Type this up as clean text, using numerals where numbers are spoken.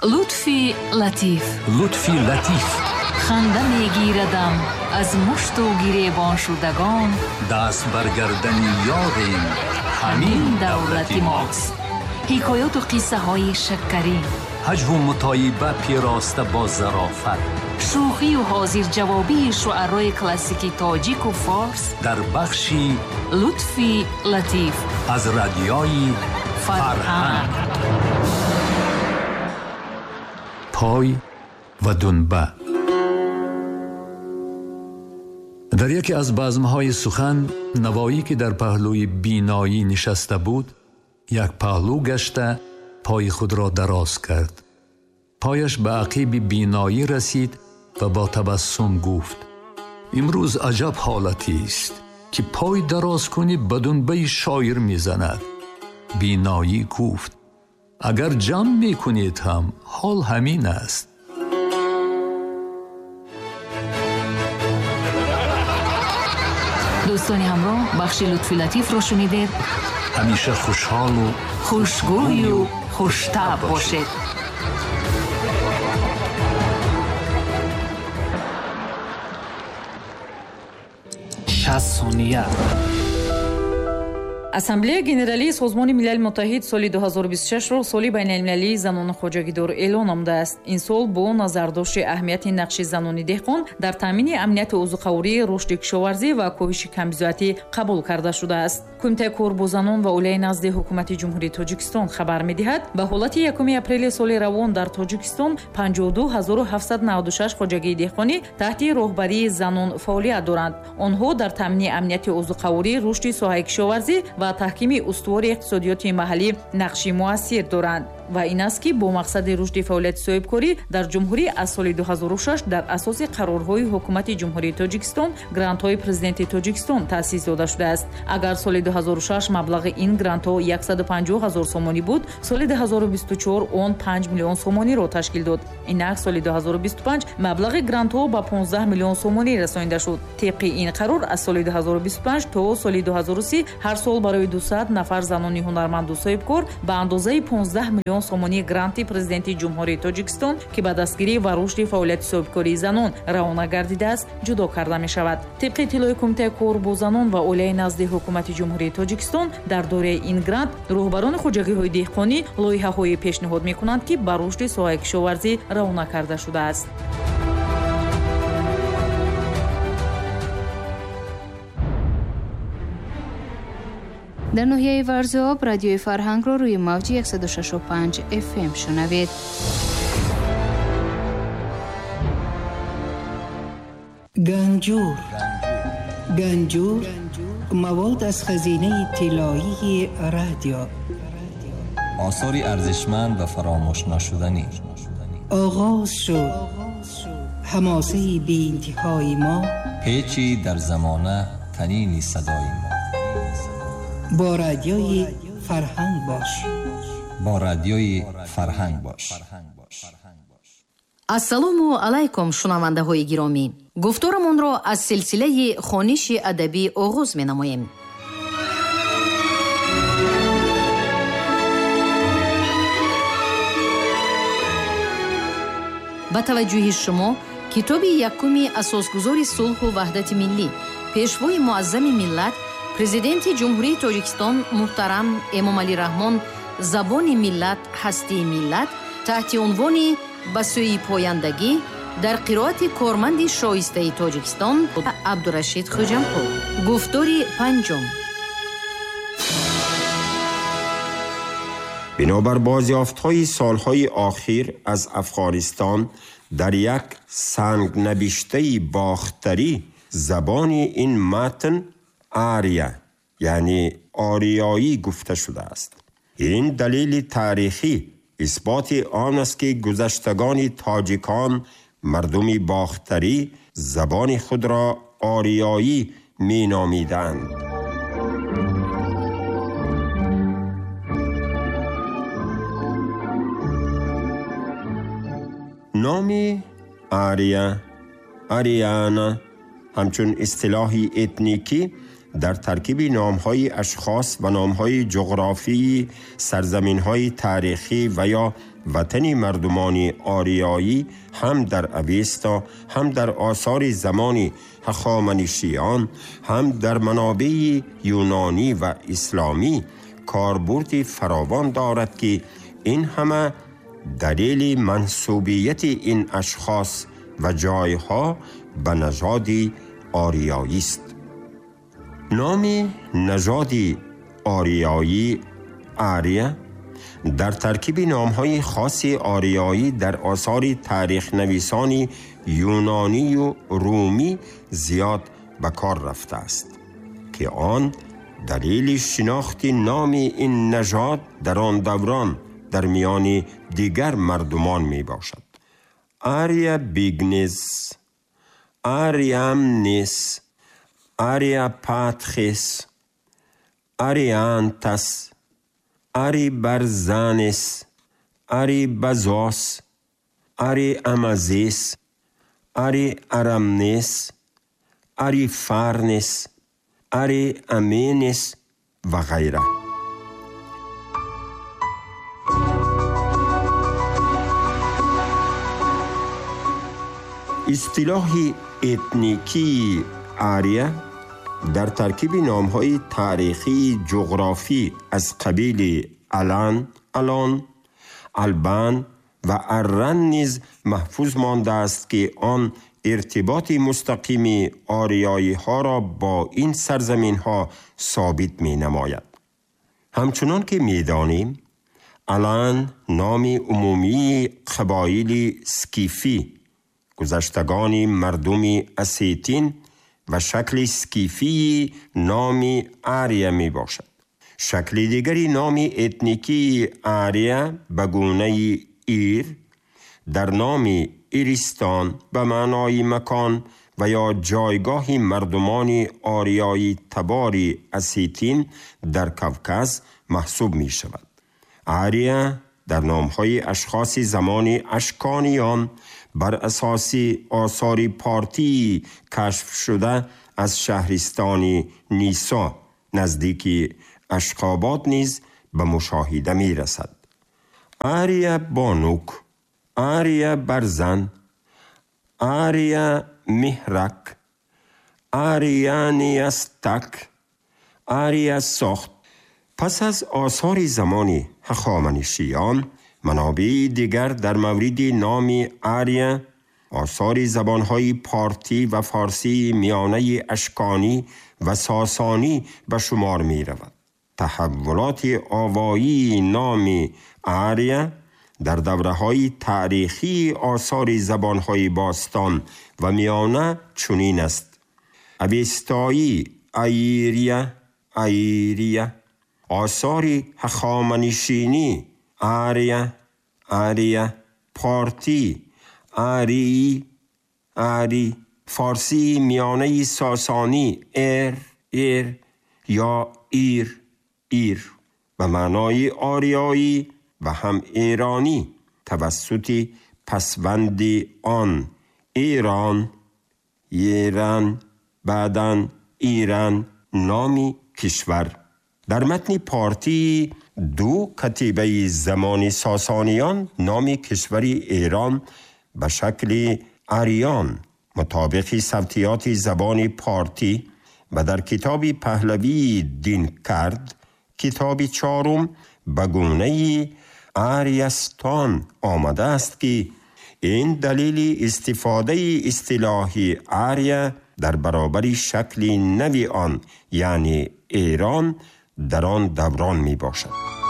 Лутфи Латиф. Лутфи Латиф. Ханда мегирадам аз мушту гиребоншудагон. Даст бар гардани ёрем, ҳамин давлати мост. Ҳикояту қиссаҳои шаккарин. Ҳаҷву мутоиба пироста бо зарофат. Шӯхию ҳозирҷавобии шуарои классики тоҷику форс дар бахши Лутфи Латиф аз радиои Фарҳанг. Пой ва дунба. Дар яке аз базмҳои сухан Навоӣ, ки дар паҳлӯи Биноӣ нишаста буд, як паҳлӯ гашта пои худро дароз кард. Пояш ба ақиби Биноӣ расид ва бо табассум гуфт: имрӯз аҷаб ҳолатист, ки пой дароз кунӣ ба дунбаи шоир мезанад. Биноӣ гуфт: агар ҷамъ мекунед ҳам ҳол ҳамин аст. Дӯстони ҳамроҳ, бахши Лутфи Латифро шунидед. Ҳамеша хушҳолу хушгӯю хуштаб бошед. 60 сония. Ассамблеяи Генералии Созмони Милали Муттаҳид соли 2026-ро соли байналмилалии занони хоҷагидор эълон намудааст. Ин сол бо назардошти аҳамияти нақши занони деҳқон дар таъмини амнияти озуқаворӣ, рушди кишоварзӣ ва коҳиши камбизоатӣ қабул карда шудааст. Кумитаи кор бо занон ва оилаи назди Ҳукумати Ҷумҳурии Тоҷикистон хабар медиҳад, ба ҳолати 1 апрели соли равон дар Тоҷикистон 52 796 хоҷагии деҳқонӣ таҳти роҳбарии занон фаъолият доранд. Онҳо дар таъмини амнияти озуқаворӣ, рушди соҳаи кишоварзӣ ва таҳкими устувори иқтисодиёти маҳаллӣ нақши муассир доранд. Ва ин аст, ки бо мақсади рушди фаъолияти соҳибкорӣ дар ҷумҳурӣ аз соли 2006 дар асоси қарорҳои Ҳукумати Ҷумҳурии Тоҷикистон грантҳои Президенти Тоҷикистон таъсис дода шудааст. Агар соли 2006 маблағи ин грантҳо 150 ҳазор сомонӣ буд, соли 2024 он 5 миллион сомониро ташкил дод. Инак, соли 2025 маблағи грантҳо ба 15 миллион сомонӣ расонида шуд. Тибқи ин қарор, аз соли 2025 то соли 2030 ҳар сол барои 200 нафар занони ҳунарманду соҳибкор ба андозаи 15 миллион сомонӣ гранти Президенти Ҷумҳурии Тоҷикистон, ки ба дастгирӣ ва рушди фаъолияти соҳибкории занон равона гардидааст, ҷудо карда мешавад. Тибқи иттилои Кумитаи кор бо занон ва оилаи назди Ҳукумати Ҷумҳурии Тоҷикистон, дар доираи ин грант роҳбарони хоҷагиҳои деҳқонӣ лоиҳаҳое пешниҳод мекунанд, ки ба рушди соҳаи кишоварзӣ равона карда шудааст. Дар ноҳияи Варзоб Радиои Фарҳангро рӯи мавҷи 165 FM шунавед. Ганҷур, ганҷур, мавод аз хазинаи тиллоии радио. Осори арзишманд ва фаромӯшнашуданӣ. Оғоз шуд ҳамосаи беинтиҳои мо. Печи дар замона танини садои мо. Бо Радиои Фарҳанг бош. Бо Радиои Фарҳанг бош. Ассалому алайкум, шунавандаҳои гиромӣ! Гуфторамонро аз силсилаи хониши адабӣ оғоз менамоем. Ба таваҷҷӯҳи шумо китоби якуми асосгузори сулҳу ваҳдати миллӣ, пешвои муаззами миллат, Президенти Ҷумҳурии Тоҷикистон муҳтарам Эмомалӣ Раҳмон «Забони миллат – ҳастии миллат» таҳти унвони «Ба сӯи пояндагӣ» дар қироати корманди шоистаи Тоҷикистон Абдурашид Хӯҷамқул. Гуфтори панҷум. Бинобар бозёфтҳои солҳои охир аз Афғонистон, дар як сангнавиштаи бохтарӣ забони ин матн ария, яъне ориёӣ гуфта шудааст. Ин далели таърихӣ исботи он аст, ки гузаштагони тоҷикон, мардуми бохтарӣ, забони худро ориёӣ меномиданд. Номи Ария, Ариана ҳамчун истилоҳи этникӣ در ترکیب نام‌های اشخاص و نام‌های جغرافی سرزمین‌های تاریخی و یا وطن مردمان آریایی هم در اوستا، هم در آثار زمان هخامنشیان، هم در منابع یونانی و اسلامی کاربرد فراوان دارد که این همه دلیل منسوبیت این اشخاص و جایها به نژاد آریایی است. نام نژاد آریایی آریا در ترکیب نام‌های خاص آریایی در آثار تاریخ نویسان یونانی و رومی زیاد به کار رفته است که آن دلیل شناخت نام این نژاد در آن دوران در میان دیگر مردمان می باشد. آریا بیگنز، آریامنس، آریا پاتخس، آریانتس، آری برزانس، آری بزوس، آری امازیس، آری ارامنس، آری فارنس، آری امینس و غیره. اصطلاح اتنیکی آریا در ترکیب نام‌های تاریخی جغرافی از قبیل الان، الان، البان و ارن نیز محفوظ مانده است که آن ارتباط مستقیم آریایی ها را با این سرزمین ها ثابت می نماید. همچنان که می دانیم الان نام عمومی قبایل سکیفی، گذشتگان مردم اسیتین و شکل سکیفی نام آریا می باشد. شکل دیگری نام اتنیکی آریا به گونه ایر در نام ایرستان به معنای مکان و یا جایگاه مردمان آریایی تبار اسیتین در کوکز محسوب می شود. آریا در نام‌های اشخاص زمان اشکانیان بر اساس آثار پارتی کشف شده از شهرستان نیسا نزدیک اشقابات نیز به مشاهده می رسد. آریا بانوک، آریا برزن، آریا مهرک، آریانیستک، آریا ساخت. پس از آثار زمان هخامنشیان، منابع دیگر در مورد نام آریا، آثار زبانهای پارتی و فارسی میانه اشکانی و ساسانی به شمار می رود. تحولات آوایی نام آریا در دوره‌های تاریخی آثار زبانهای باستان و میانه چنین است: اوستایی ایریا، ایریا، آثار هخامنشینی آریا، آریا، پارتی آری، آری، فارسی میانه ساسانی ایر، ایر یا ایر، ایر به معنای آریایی و هم ایرانی توسط پسوند آن ایران، ایران، بعداً ایران نامی کشور. در متن پارتی دو کتیبه زمان ساسانیان نام کشور ایران به شکل آریان مطابق صوتیات زبان پارتی و در کتاب پهلوی دین کرد کتاب چهارم به گونه آریستان آمده است که این دلیل استفاده اصطلاح آریا در برابر شکل نوی آن یعنی ایران در آن دوران می باشد.